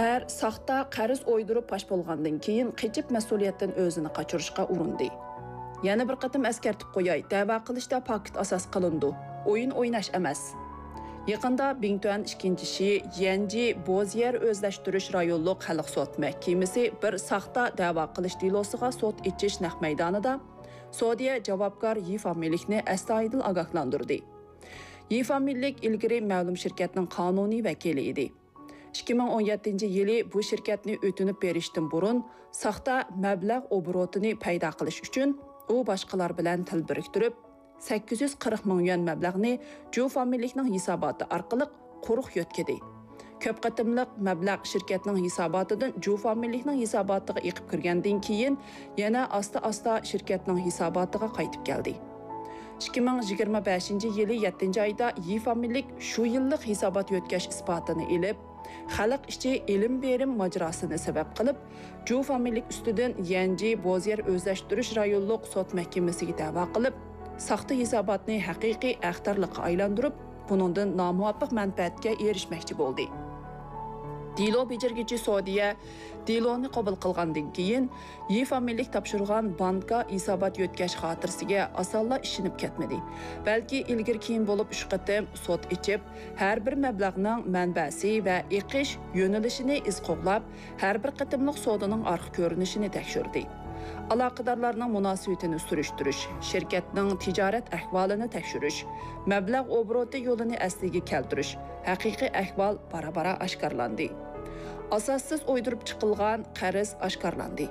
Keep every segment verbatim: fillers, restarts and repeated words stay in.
ئەر ساختا قەرز ئويدۇرۇپ پاش بولغاندىن كېيىن، قېچىپ مەسئۇلىيەتتىن ئۆزىنى قاچۇرۇشقا ئۇرۇندى. يەنە بىر قېتىم ئەسكەرتىپ قوياي، دەۋا قىلىشتا پاكىت ئاساس قىلىنىدۇ، ئويۇن ئويناش ئەمەس. يېقىندا بىڭتۈەن ئىككىنچى شى يەنجى بوزيەر ئۆزلەشتۈرۈش رايونلۇق خەلق سوت مەھكىمىسى بىر ساختا دەۋا قىلىش دېلوسىغا سوت ئېچىش نەق مەيدانىدا سودىيە جاۋابكار يى فامىلىكنى ئەستايىدىل ئاگاھلاندۇردى. يى فامىلىك ئىلگىرى مەلۇم شىركەتنىڭ قانۇنىي ۋەكىلى ئىدى. ئىككى مىڭ ئون يەتتىنچى يىلى بۇ شىركەتنى ئۆتۈنۈپ بېرىشتىن بۇرۇن، ساختا مەبلەغ ئوبوروتىنى پەيدا قىلىش ئۈچۈن، ئۇ باشقىلار بىلەن تىل بىرىكتۈرۈپ، سەككىز يۈز قىرىق مىڭ يۈەن مەبلەغنى جۇ فامىلىكنىڭ ھېساباتى ئارقىلىق قۇرۇق يۆتكىدى. كۆپ قېتىملىق مەبلەغ شىركەتنىڭ ھېساباتىدىن جۇ فامىلىكنىڭ ھېساباتىغا ئېقىپ كىرگەندىن كېيىن، يەنە ئاستا-ئاستا شىركەتنىڭ ھېساباتىغا قايتىپ كەلدى. ئىككى مىڭ يىگىرمە بەشىنچى يىلى يەتتىنچى ئايدا يى فامىلىك شۇ يىللىق ھېسابات يۆتكەش ئىسپاتىنى ئېلىپ، خەلق ئىچى ئېلىم بېرىم ماجىراسىنى سەۋەب قىلىپ، جۇ فامىلىك ئۈستىدىن يەنجى بوزيەر ئۆزلەشتۈرۈش رايونلۇق سوت مەھكىمىسىگە دەۋا قىلىپ، ساختا ھېساباتنى ھەقىقىي ئەختەرلىككە ئايلاندۇرۇپ، بۇنىڭدىن نامۇۋاپىق مەنپەئەتكە ئېرىشمەكچى بولدى. دېلو بېجىرگۈچى سودىيە دېلونى قوبۇل قىلغاندىن كېيىن، يى فامىلىك تاپشۇرغان بانكا ھېسابات يۆتكەش خاتىرىسىگە ئاسانلا ئىشىنىپ كەتمىدى، بەلكى ئىلگىرى-كېيىن بولۇپ ئۈچ قېتىم سوت ئېچىپ، ھەر بىر مەبلەغنىڭ مەنبەسى ۋە ئېقىش يۆنىلىشىنى ئىز قوغلاپ، ھەر بىر قېتىملىق سودىنىڭ ئارقا كۆرۈنۈشىنى تەكشۈردى. ئالاقىدارلارنىڭ مۇناسىۋىتىنى سۈرۈشتۈرۈش، شىركەتنىڭ تىجارەت ئەھۋالىنى تەكشۈرۈش، مەبلەغ ئوبوروتى يولىنى ئەسلىگە كەلتۈرۈش، ھەقىقىي ئەھۋال بارا-بارا ئاشكارىلاندى. ئاساسسىز ئويدۇرۇپ چىقىلغان قەرز ئاشكارىلاندى.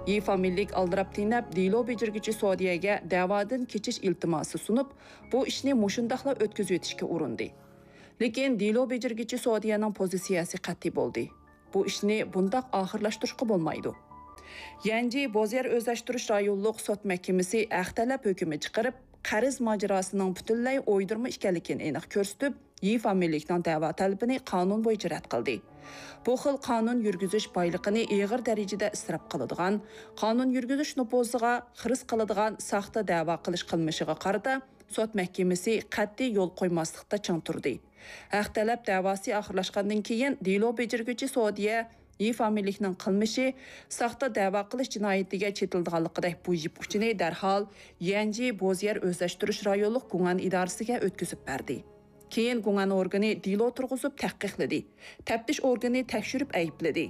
يى فامىلىك ئالدىراپ تېنەپ، دېلو بېجىرگۈچى سودىيەگە دەۋادىن كېچىش ئىلتىماسى سۇنۇپ، بۇ ئىشنى مۇشۇنداقلا ئۆتكۈزۈۋېتىشكە ئۇرۇندى. لېكىن دېلو بېجىرگۈچى سودىيەنىڭ پوزىتسىيەسى قەتئىي بولدى. بۇ ئىشنى بۇنداق ئاخىرلاشتۇرۇشقا بولمايدۇ. يەنجى بوزيەر ئۆزلەشتۈرۈش رايونلۇق سوت مەھكىمىسى ھەق تەلەپ ھۆكمى چىقىرىپ، قەرز ماجىراسىنىڭ پۈتۈنلەي ئويدۇرما ئىكەنلىكىنى ئېنىق كۆرسىتىپ، يى فامىلىكنىڭ دەۋا تەلىپىنى قانۇن بويىچە رەت قىلدى. بۇ خىل قانۇن يۈرگۈزۈش بايلىقىنى ئېغىر دەرىجىدە ئىسراپ قىلىدىغان، قانۇن يۈرگۈزۈش نوپۇزىغا خىرىس قىلىدىغان ساختا دەۋا قىلىش قىلمىشىغا قارىتا سوت مەھكىمىسى قەتئىي يول قويماسلىقتا چىڭ تۇردى. ھەق تەلەپ دەۋاسى ئاخىرلاشقاندىن كېيىن، دېلو بېجىرگۈچى سودىيە يى فامىلىكنىڭ قىلمىشى ساختا دەۋا قىلىش جىنايىتىگە چېتىلىدىغانلىقىدەك بۇ يىپ ئۇچىنى دەرھال يەنجى بوزيەر ئۆزلەشتۈرۈش رايونلۇق گۇڭئەن ئىدارىسىگە ئۆتكۈزۈپ بەردى. كېيىن گۇڭئەن ئورگىنى دېلو تۇرغۇزۇپ تەھقىقلىدى. تەپتىش ئورگىنى تەكشۈرۈپ ئەيىبلىدى.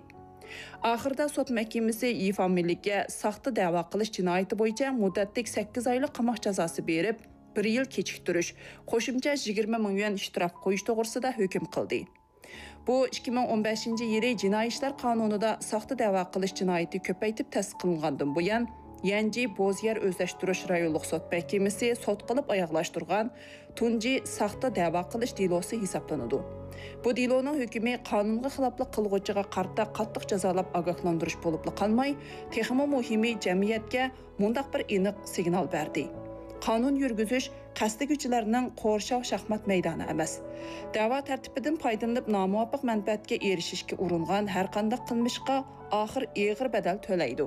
ئاخىرىدا سوت مەھكىمىسى يى فامىلىككە ساختا دەۋا قىلىش جىنايىتى بويىچە مۇددەتلىك سەككىز ئايلىق قاماق جازاسى بېرىپ، بىر يىل كېچىكتۈرۈش، قوشۇمچە يىگىرمە مىڭ يۈەن شتراف قويۇش توغرىسىدا ھۆكۈم قىلدى. بۇ ئىككى مىڭ ئون بەشىنچى يىلى جىنايى ئىشلار قانۇنىدا ساختا دەۋا قىلىش جىنايىتى كۆپەيتىپ تەسىس قىلىنغاندىن بۇيان، يەنجى بوزيەر ئۆزلەشتۈرۈش رايونلۇق سوت مەھكىمىسى سوت قىلىپ ئاياغلاشتۇرغان تۇنجى ساختا دەۋا قىلىش دېلوسى ھېسابلىنىدۇ. بۇ دېلونىڭ ھۆكمى قانۇنغا خىلاپلىق قىلغۇچىغا قارىتا قاتتىق جازالاپ ئاگاھلاندۇرۇش بولۇپلا قالماي، تېخىمۇ مۇھىمى جەمئىيەتكە مۇنداق بىر ئېنىق سىگنال بەردى: قانۇن يۈرگۈزۈش قەستلىگۈچىلەرنىڭ قورشاۋ شاھمات مەيدانى ئەمەس. دەۋا تەرتىپىدىن پايدىلىنىپ نامۇۋاپىق مەنپەئەتكە ئېرىشىشكە ئۇرۇنغان ھەرقانداق قىلمىشقا ئاخىر ئېغىر بەدەل تۆلەيدۇ.